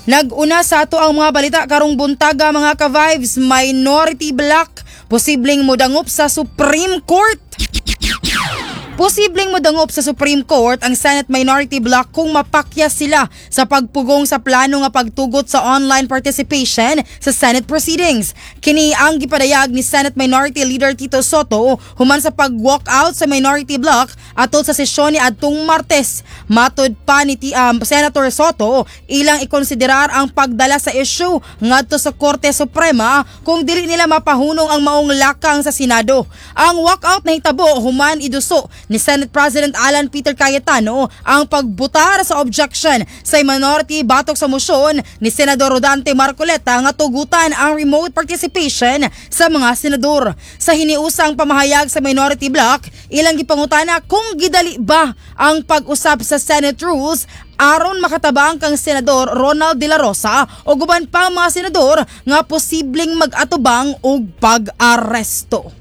Nag-una sa ato ang mga balita karong buntaga, mga ka-vibes, minority bloc posibleng modangop sa Supreme Court. Posibleng modangop sa Supreme Court ang Senate Minority Bloc kung mapakya sila sa pagpugong sa plano nga pagtugot sa online participation sa Senate proceedings. Kini ang gipadayag ni Senate Minority Leader Tito Sotto human sa pag-walk out sa Minority Bloc atol sa sesyon ni adtong Martes. Matod pa ni Senator Sotto, ilang ikonsiderar ang pagdala sa issue ngadto sa Korte Suprema kung dili nila mapahunong ang maong lakang sa Senado. Ang walkout nahitabo human iduso ni Senate President Alan Peter Cayetano ang pagbutar sa objection sa minority batok sa mosyon ni Senador Rodante Marcoleta nga tugutan ang remote participation sa mga senador. Sa hiniusang pamahayag sa minority bloc, ilang gipangutana kung gidali ba ang pag-usab sa Senate rules aron makatabang kang Senador Ronald De La Rosa o guban pa mga senador nga posibleng mag-atubang og pag-aresto.